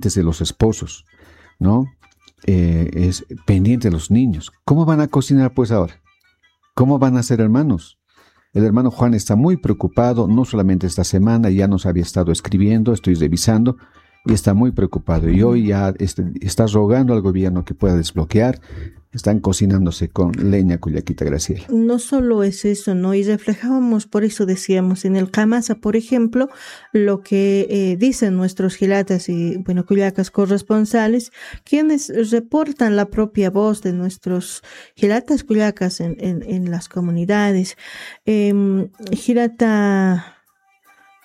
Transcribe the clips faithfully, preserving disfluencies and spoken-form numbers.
de los esposos, ¿no? Eh, es pendiente de los niños. ¿Cómo van a cocinar, pues, ahora? ¿Cómo van a ser hermanos? El hermano Juan está muy preocupado, no solamente esta semana, ya nos había estado escribiendo, estoy revisando, y está muy preocupado. Y hoy ya este, está rogando al gobierno que pueda desbloquear. Están cocinándose con leña, Cullaquita Graciela. No solo es eso, ¿no? Y reflejábamos, por eso decíamos, en el Kamasa, por ejemplo, lo que eh, dicen nuestros jilatas y, bueno, kullakas corresponsales, quienes reportan la propia voz de nuestros jilatas kullakas en, en, en las comunidades. Em, jilata,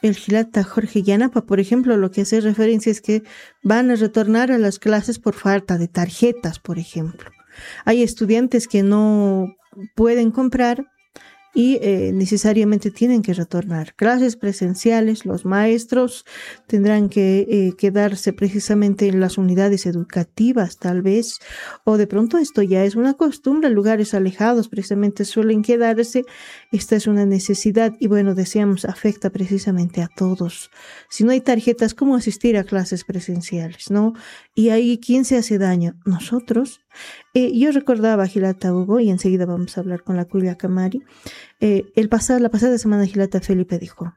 el jilata Jorge Yanapa, por ejemplo, lo que hace referencia es que van a retornar a las clases por falta de tarjetas, por ejemplo. Hay estudiantes que no pueden comprar y eh, necesariamente tienen que retornar. Clases presenciales, los maestros tendrán que eh, quedarse precisamente en las unidades educativas, tal vez, o de pronto esto ya es una costumbre, lugares alejados precisamente suelen quedarse. Esta es una necesidad y, bueno, decíamos, afecta precisamente a todos. Si no hay tarjetas, ¿cómo asistir a clases presenciales, no? Y ahí, ¿quién se hace daño? Nosotros. Eh, yo recordaba, jilata Hugo, y enseguida vamos a hablar con la kullaka Mari, eh, el pasado, la pasada semana jilata Felipe dijo,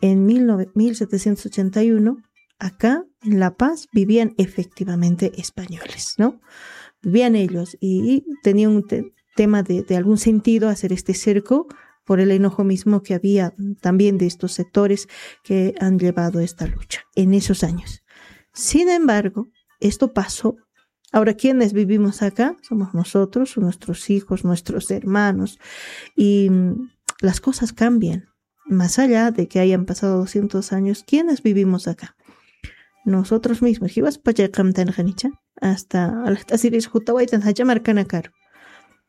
en mil nove- mil setecientos ochenta y uno, acá en La Paz vivían efectivamente españoles, ¿no? Vivían ellos y, y tenía un te- tema de, de algún sentido hacer este cerco por el enojo mismo que había también de estos sectores que han llevado esta lucha en esos años. Sin embargo, esto pasó. Ahora, ¿quiénes vivimos acá? Somos nosotros, nuestros hijos, nuestros hermanos, y mm, las cosas cambian. Más allá de que hayan pasado doscientos años, ¿quiénes vivimos acá? Nosotros mismos. Jiwas pachay qamtan qanicha. Hasta alxt'asiris jutawaytan jacha markanakaru.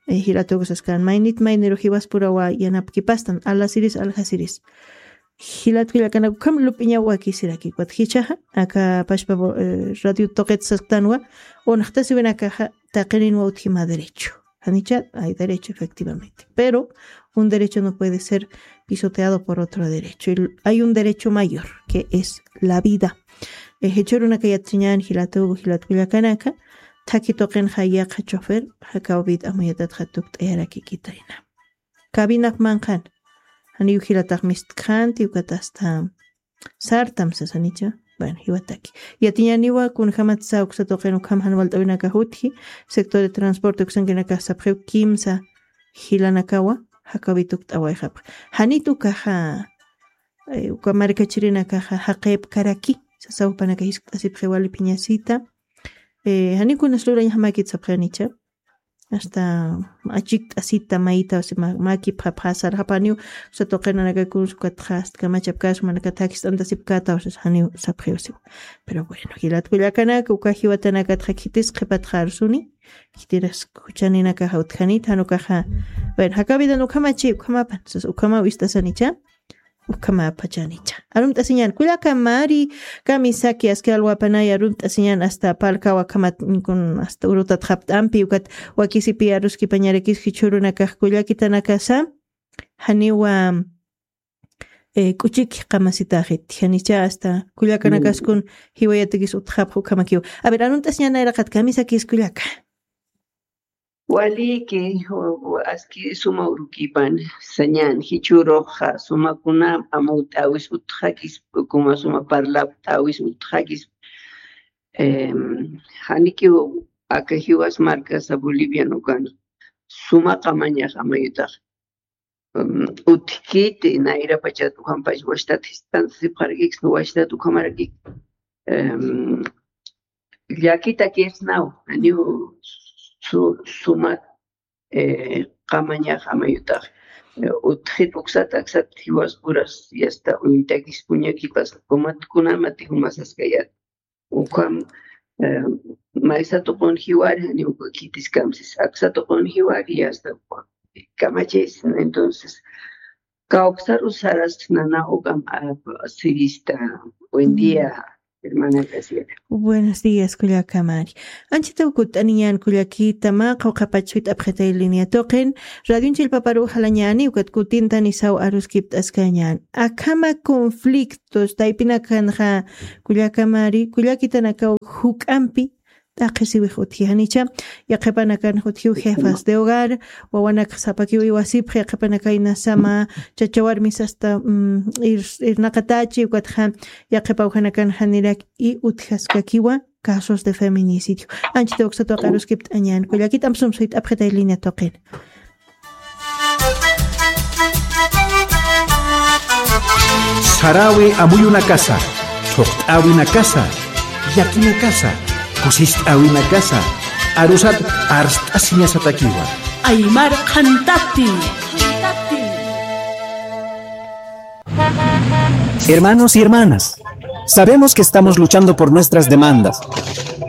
Eh, jilatukusaskan. Maynit mayniru jiwaspurawa yanapkipastan. Alasiris, alxasiris. Jilat kullakanak ukham lup'iñaw wakisiraki. Ukat jichhaxa, aka pachpa bo- eh, radio tuqit sasktanwa, unxtasiwinakaxa taqirinwa utjima derecho. Janicha, hay derecho, efectivamente. Pero un derecho no puede ser pisoteado por otro derecho. Y hay un derecho mayor, que es la vida. Eh, jichhürunaka yatchiñan, jilatuku, jilat kullakanaka, thaki tuqinxa yaqha chofer, jakaw bit amuyatatxa tukt'ayarakikitayna. Cabinap manqhan, janiw jilatax mistkxanti, ukat hasta sartam sasanicha. Bueno, jiwataki. Yatiñaniwa kunjamatsa uksa tuqin ukham jan walt'awinakax utji, sector de transporte uksankinakax sapxiw kimsa jilanakawa, jakaw bit tukt'awayxapxa. Janit ukaxa, eh, uka markachirinakaxa jaqipkaraki, sasaw jupanaka jiskt'asipxi wali phiñasita. Eh, janiw kunas lurañjamakit sapxi janicha. Hasta achikt'asita mayta, o sea, ma- makipxapxasarxapaniw, o sea, tuqinanakakus, ukatxa, hasta kamachapkas, manaka thakist'antasipkata, o sea, janiw sapxiw siw. Pero bueno, jilat kullakanaka, uka jiwatanakatxa khitis qhipatxarsuni, khitiras khuchaninakaxa utjanit, jan ukaxa, bueno, jakaw bidan ukhamachi, ukhamapan, o sea, ukhamaw ist'asanicha, ukhamapachanicha. Arumt'asiñan, kullaka Mari, kamisaki aski alwapanay, arumt'asiñan hasta Palkawa akhamat, kun hasta urutat japt'ampi, ukat wakisipi aruskipañarakis jichhürunakax kullakitanakasa, janiwa, eh, k'uchiki qamasitaxit, janicha hasta kullakanakaskun jiwayatakis utjapx ukhamakiw. A ver, arumt'asiñan nayraqat kamisakis kullaka. Waliki, u- u- aski suma urukipan, sañan, jichhüruxa, sumakunam amawt'awis utxakis, kuma suma parlapt'awis utxakis, em, janikiw aka jiwas markasa Bolivian ukan, suma qamañax amayutax, em, utjkiti, nayrapachat ukampach wachtat jiskt'antasipxarakikis, wachtat ukamarakik, em, llakitakisnaw, janiw su- sumat, eh, qamañax amayutax, eh, utjit uksat aksat jiwaspuras, yasta uñtakis puñakipas, kumat kunamati jumasaskayat. Ukham, eh, maysa tuqun jiwari, janiw uka khitiskamsis, aksa tuqun jiwari, yasta uka kamachis. Entonces, kawksaru saras nana ukam, ah, sirista, buen día. Hermana Graciela. Buenos días, kullakamari. Anchitaw kutt'aniñän kullakita, mä qawqhapach suyt'apxitay línea tuqin. Radion chillpaparu jalañäni, ukat kutintanisaw aruskipt'askañän. Akhama conflictos, taypinakanxa kullakamari, kullakitanakaw juk'ampi t'aqhisiwix utji janicha, yaqhipanakan utjiw jefas de hogar, wawanakxa sapakiw iwasipxi, yaqhipanakaynasama, chacha warmis hasta, mm, ir-, irnaqatachi, ukatxa, yaqhipa ukhanakan janirak i utjaskakiwa, casos de feminicidio. Anchita uksatwa qaruskipt'añän, kullakit amsum suyt'apxitay línea tuqin. Sarawi amuyunakasa, thuqt'awinakasa, llakinakasa, kusist'awinakasa, arusat arst'asiñasatakiwa. Aymar Qhantati. Hermanos y hermanas, sabemos que estamos luchando por nuestras demandas,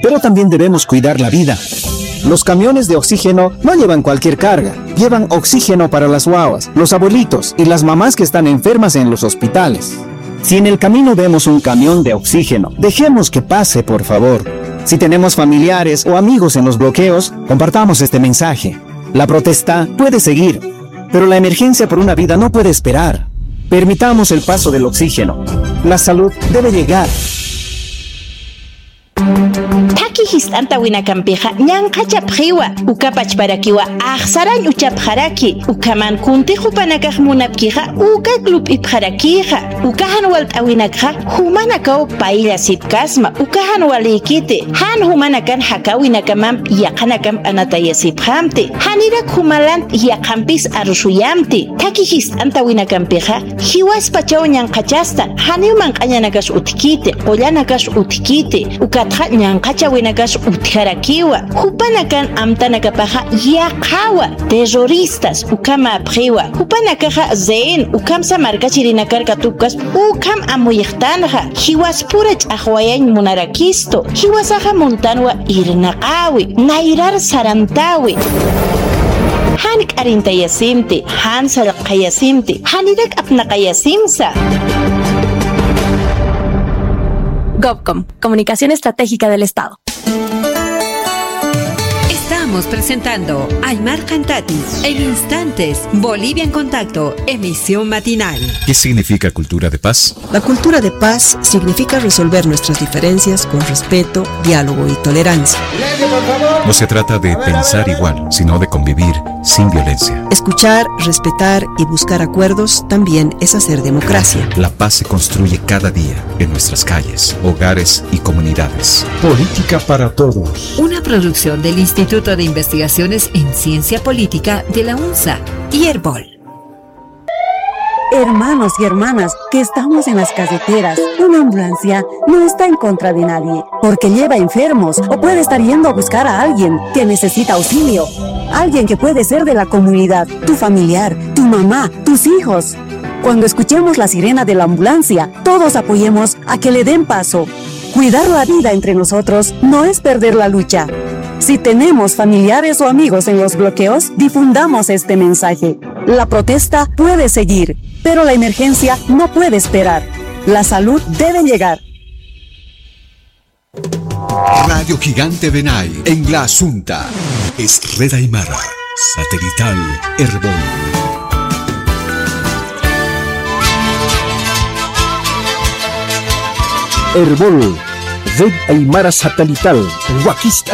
pero también debemos cuidar la vida. Los camiones de oxígeno no llevan cualquier carga, llevan oxígeno para las guaguas, los abuelitos y las mamás que están enfermas en los hospitales. Si en el camino vemos un camión de oxígeno, dejemos que pase, por favor. Si tenemos familiares o amigos en los bloqueos, compartamos este mensaje. La protesta puede seguir, pero la emergencia por una vida no puede esperar. Permitamos el paso del oxígeno. La salud debe llegar. Thaki jist'antawinakampixa ñanqhachapxiwa, uka pachparakiwa axsarañ uchapxaraki, ukhaman kuntix jupanakax munapkixa ukak lup'ipxarakixa, uka jan walt'awinakxa jumanakaw payllasipkasma, uka jan walïkiti, jan jumanakan jakäwinakamamp yaqhanakamp anatayasipxamti, janirak jumalant yaqhampis arusuyamti, thaki jist'antawinakampixa, jiwaspachaw ñanqhachastan, janiw manq'añanakas utjkiti, qullanakas utjkiti, ukatxa ñanqhachawinakas utjarakiwa, jupanakan amtanakapaxa yaqhawa, terroristas, ukhamäpxiwa, jupanakaxa rehén, ukhamsa markachirinakar katupkasp, ukham amuyxtanxa, jiwaspura ch'axwayañ munarakistu, jiwasaxa muntanwa irnaqäwi, nayrar sarantäwi. Jan k'arintayasimti, jan sallqayasimti, janirak apnaqayasimsa. Gobcom, Comunicación Estratégica del Estado. Estamos presentando Aymar Qhantati. En instantes, Bolivia en Contacto, emisión matinal. ¿Qué significa cultura de paz? La cultura de paz significa resolver nuestras diferencias con respeto, diálogo y tolerancia. No se trata de pensar igual, sino de convivir sin violencia. Escuchar, respetar y buscar acuerdos también es hacer democracia. La paz se construye cada día, en nuestras calles, hogares y comunidades. Política para todos. Una producción del Instituto de Investigaciones en Ciencia Política de la UNSA y Erbol. Hermanos y hermanas que estamos en las carreteras, una ambulancia no está en contra de nadie, porque lleva enfermos o puede estar yendo a buscar a alguien que necesita auxilio, alguien que puede ser de la comunidad, tu familiar, tu mamá, tus hijos. Cuando escuchemos la sirena de la ambulancia, todos apoyemos a que le den paso. Cuidar la vida entre nosotros no es perder la lucha. Si tenemos familiares o amigos en los bloqueos, difundamos este mensaje. La protesta puede seguir, pero la emergencia no puede esperar. La salud debe llegar. Radio Gigante Benay, en La Asunta. Es Red Aymara, satelital Erbol. Erbol, Red Aymara Satelital, wakist'an